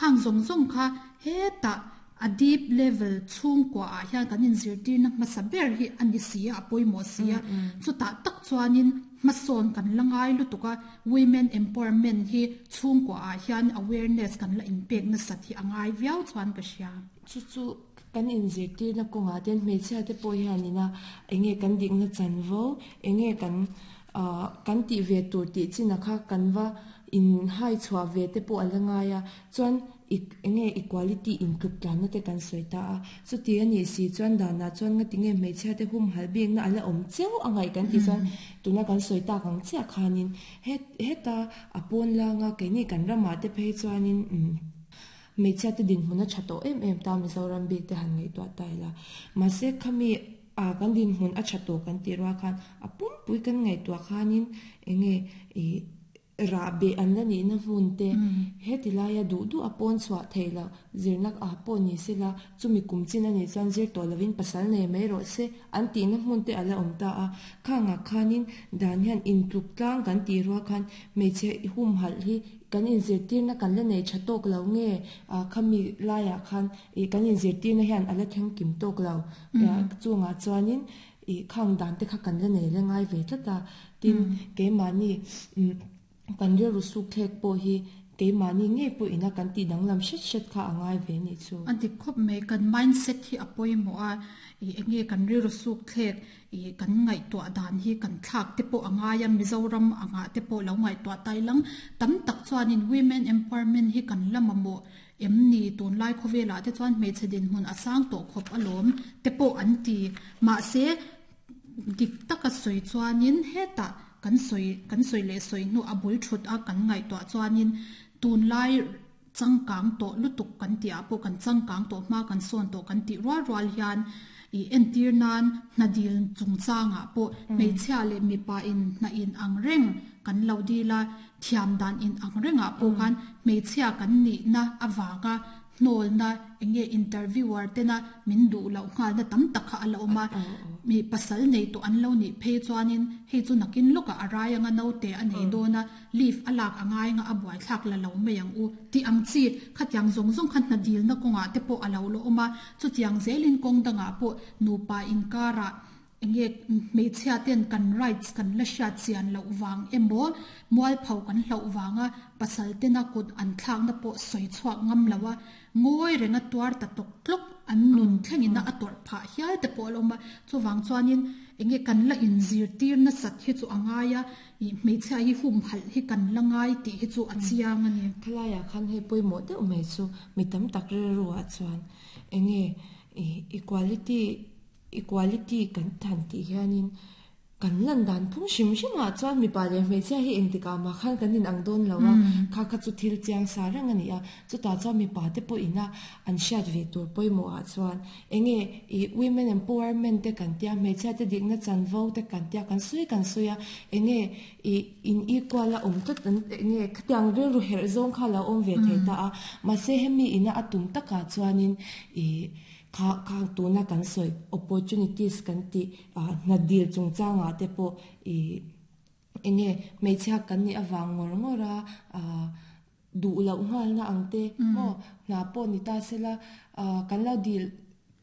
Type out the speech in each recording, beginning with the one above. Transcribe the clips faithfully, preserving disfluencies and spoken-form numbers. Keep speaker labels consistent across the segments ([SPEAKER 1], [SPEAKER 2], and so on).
[SPEAKER 1] Khang zawng zawng kha hetah a deep level chhungkua ah hian kan inzirtirna hmasa ber hi a ni si a, a pawimawh si a. Chutah tak chuanin hmasawn kan la ngai lutuk a, women empowerment hi chhungkua ah hian awareness kan la inpek nasat hi a ngai viau chuan ka hria.
[SPEAKER 2] Chu chu kan inzirtirna kawngah ten hmeichhia te pawh hianina enge kan dikna chanvo, enge kan ah kan tih ve tur tih chin a kha kan va in hai chhuah ve te pawh a la ngai a. Chuan enge equality intluk tlanna te kan sawi ta a, chuti a nih si chuan danah chuan nga tinge hmeichhia te hum hal bikna a la awm cheu a ngaih kan tih chuan tuna kan sawi tak ang chiah khanin he heta a pawn langa keini kan ramah te phei chuanin umm hmeichhia te dinhmun a tha tawh em em ta Mizoram bik te han ngaihtuah ta ila. Mahse khami a kan dinhmun a tha tawh kan tih rual khan a pumpui kan ngaihtuah khanin enge ih rah beh an la nihna hmun te heti laia duh duh a pawn chhuah theih loh zirna ah pawh ni sela chumi kum chin a nih chuan zir tawh lovin pasal nei mai rawh se an tihna hmun te a la awm ta a. Khangah khanin dan hian intluk tlang kan tih rual khan hmeichhe humhalh hi kan inzirtirna kan la nei tha tawk lo nge ah khami laiah khan ih kan inzirtirna hian a la thleng kim tawk lo chungah chuanin ih khang dan te kha kan la nei la ngai ve tlat a. Tin keimahni umm kan rilru suk thlek pawh hi keimahni ngei pawh ina kan tih danglam hret hret kha a ngai ve nih chu.
[SPEAKER 1] A dik khawp mai, kan mindset hi a pawimawh a, ih enge kan rilru suk thlek ih kan ngaihtuah dan hi kan thlak te pawh a ngai a, Mizoram angah te pawh lo ngaihtuah tai lang tam tak chuanin women empowerment hi kan la mamawh em ni tunlai khawvelah te chuan hmeichhe dinhmun a sang tawh khawp alawm te pawh an ti. Mahse dik taka sawi chuanin hetah kan sawi kan sawi leh sawi hnu a bul thut a kan ngaihtuah chuanin tunlai changkang tawh lutuk kan tih ah pawh kan changkang tawh hma kan sawn tawh kan tih rual rual hian ih entir nan hna dil chungchangah pawh hmeichhia leh mipa in hna in ang reng kan lo dil a, thiam dan in ang rengah pawh khan hmeichhia kan nihna avanga hnawlna enge interviewer tena min duh loh nghalna tam tak kha a la awm a. Mi pasal nei tawh an lo nih phei chuanin hei chu nakin lawkah a rai anga naute a nei dawn a, leave a lak a ngai anga a buaithlak la lo mai ang u tih ang chi khatiang zawng zawng kha hna dilna kawngah te pawh a lo la awm a. Chutiang zelin kawng dangah pawh nupa inkarah enge hmeichhia ten kan rights kan la hriat chian loh vang emaw mualpho kan hlauh vanga pasal tena kut an thlakna pawh sawi chhuak ngam lo a, ngawi renga tuar ta tawk tlawk an nun thlengin a tawrh phah hial te pawh a la awm a. Chuvang chuanin enge kan la inzirtir nasat hi chu a ngai a, ih hmeichhia hi humhalh hi kan la ngai tih hi chu a chiang a ni.
[SPEAKER 2] Thalaiah khan hei pawimawh deuh mai chu mi tam tak rilruah chuan enge ih equality equality kan than tih hianin kan lan dan phung hrim hrimah chuan mipa leh hmeichhia hi engtikah mah khan kan inang dawn lo a, kha kha chu thil chiang sa reng a ni a. Chutah chuan mipa te pawh ina an hriat ve tur pawimawhah chuan enge ih women empowerment te kan tia, hmeichhia te dikna chanvo te kan tia, kan sawi kan sawi a, enge ih in equal a awm tlat an enge khatiang rilru herh zawng kha a lo awm ve thei ta a. Mahse hemi ina a tum takah chuanin ih kha kha tuna kan sawi opportunities kan tih ah hna dil chungchangah te pawh ih enge hmeichhia kan nih avang ngawr ngawr a ah duh loh nghalna ang te maw hna pawh ni ta sela ah kan lo dil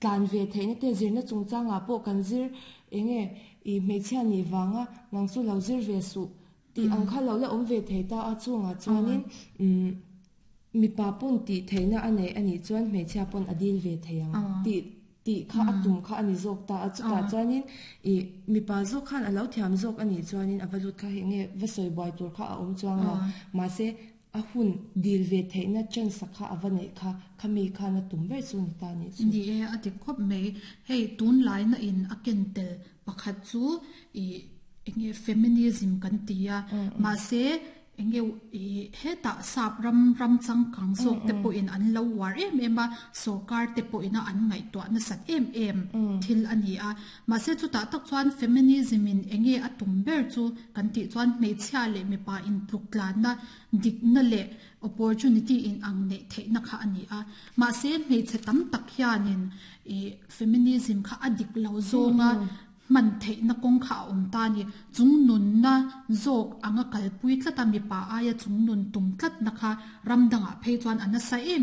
[SPEAKER 2] tlan ve theihna te zirna chungchangah pawh kan zir enge ih hmeichhia nih vanga nang chu lo zir ve suh tih ang kha lo la awm ve thei ta a. Chungah chuanin umm mipa pawn tih theihna a nei a nih chuan hmeichhia pawn a dil ve thei ang tih tih kha a tum kha a ni zawk ta a. Chutah chuanin ih mipa zawk khan a lo thiam zawk a nih chuanin a va lut kha hei nge va sawi buai tur kha a awm chuang lo. Mahse a hun dil ve theihna chance kha a va neih kha khami khan a tum ber chu ni ta nih chu.
[SPEAKER 1] Ni e, a dik khawp mai. Hei tunlaina in a ken tel pakhat chu ih enge feminism kan ti a, mahse enge ih hetah sap ram ram changkang zawk te pawhin an lo uar em em a, sorkar te pawhin a an ngaihtuah nasat em em thil a ni a. Mahse chutah tak chuan feminism in enge a tum ber chu kan tih chuan hmeichhia leh mipa intluk tlanna dikna leh opportunity in ang neih theihna kha a ni a. Mahse hmeichhe tam tak hianin ih feminism kha a dik lo zawnga hman theihna kawng kha a awm ta a ni. Chung nunna zawk anga kalpui tlat a, mipa aia chung nun tum tlatna kha ram dangah phei chuan a nasa em